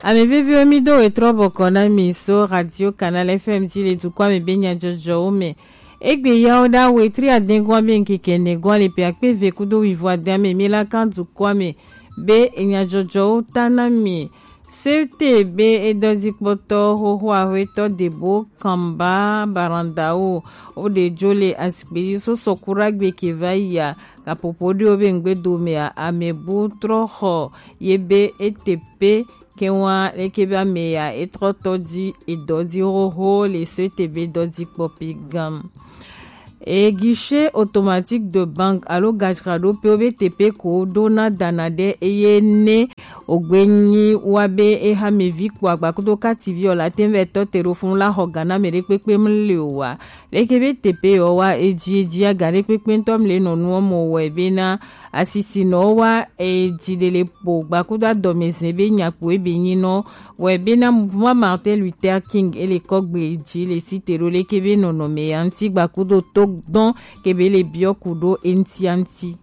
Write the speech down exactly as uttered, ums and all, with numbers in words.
Ame veviwo, mi do wetrɔ bɔkɔ na mi so Radio Canal F M ti le dukɔ ame be nyadzɔdzɔwo me. Egbe yawo da wetri adengoa be nkeke negoa le pe akpe ve kudo wivo aden ame mi la kan dukɔ ame be nyadzɔdzɔwo ta na mi. Sete be edɔdzikpɔtɔ xoxo ahwetɔ Debo Kamba Barandao wo ɖe jo le asikpe yi so sɔkura gbe ke va yi a, gaƒoƒo ɖewo be ŋgbedo mea, amebu trɔ xɔ ye be ete pe ke wa leke be ame ya etrɔ tɔ di edɔ di xoxo le so ete be dɔ di kpɔ pe gam. E guichet automatique de banque alo gadzraɖoƒewo be teƒe ko ɖona dana ɖe eye ne wògbe nyi wa be ehamevi kpɔ agba kudo kativi o la te ŋu vɛ tɔ te ɖo funu la xɔ ga na ame ɖe kpekpe mle o wa. Leke be teƒe yewo wa edzi edzi aga ɖe kpekpe ŋutɔ mle nɔ nuwo me o wɔe bena asisinɔwo wa edzi ɖe le ƒo gba kudo adɔmezɛ be nyakpo ebe nyinɔ wɔe bena mouvement Martin Luther King ele kɔgbe dzi le site ɖo leke be nɔnɔme ya ŋuti gba kudo to dɔn ke be le biɔ ku ɖo eŋutia ŋuti.